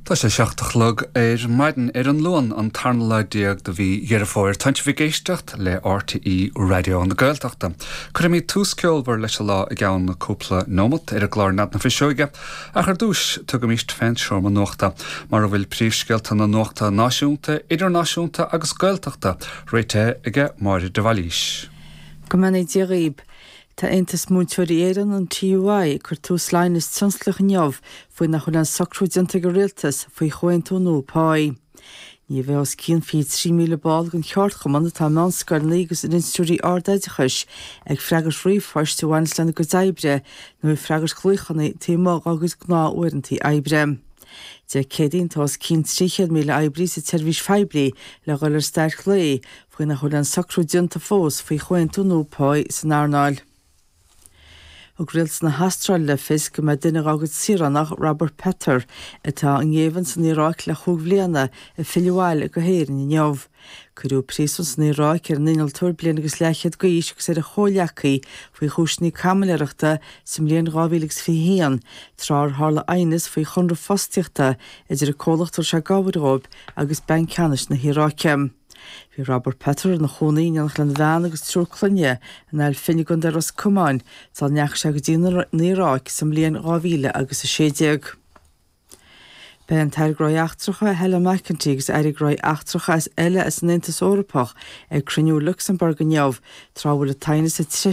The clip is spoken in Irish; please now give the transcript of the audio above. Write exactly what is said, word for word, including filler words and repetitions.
Tá sé seacht a chlog ar maidin ar an Luan an tarna lá déag de mhí Dheireadh Fómhair. Tá sibh ag éisteacht le R T É Raidió na Gaeltachta. Cuirfimid tús ceolmhar leis an lá i gceann cúpla nóiméad ar an gclár Nead na Fuiseoige, ach ar dtús tugaimis fén seomra nuachta, mar a bhfuil príomhscéalta na nuachta náisiúnta, idirnáisiúnta agus Gaeltachta réitithe aige Máire de Bhailís. Go mbeannaí Dia dhaoibh. Tá Aontas Múinteoirí Éireann, an T U I, ag cur tús le haighneas tionsclaíoch inniu faoi nach bhfuil aon socrú déanta ag an rialtas faoi chomhaontú nua páí. Ní bheidh os cionn fiche trí míle ball den cheardchumann atá i meánscoileanna agus in institiúidí ardoideachais ag freagairt ríomhphoist a bhaineas lena gcuid oibre nó ag freagairt glaochanna taobh amuigh dá gcuid gnáth-uaireanta oibre. Dé Céadaoin tá os cionn trí chéad míle oibrí sa tseirbhís phoiblí le dhul ar stailc lae faoi nach bhfuil aon socrú déanta fós faoi chomhaontú nua páí san earnáil. Thug rialtas na hAstráile le fios go mbeidh duine dá gcuid saoránach, Robert Peter, atá i ngéibheann san Iaráic le cúig bliana, ag filleadh abhaile go hÉirinn inniu. Cuireadh príosún san Iaráic ar an innealtóir bliain agus leathchéad d'aois agus ar a chomhghleacaí faoi chúiseanna caimiléireachta sa mbliain dhá mhíle agus fiche haon, tráth ar tharla aighneas faoi chonradh fostaíochta idir an comhlacht a raibh sé ag obair dhóibh agus Banc Ceannais na hIaráice. Bhí Robert Peter ina chónaí in éineacht lena bhean agus triúr clainne in Ail Finn i gContae Ros Comáin sula ndeachaigh sé go dtí an Iaráic sa mbliain dhá mhíle agus a sé déag. Beidh an tAire Gnóthaí Eachtracha Helen McEntee agus Airí Gnóthaí Eachtracha as eile as an Aontas Eorpach ag cruinniú Lucsamburg inniu, tráth a bhfuil an t-aighneas ag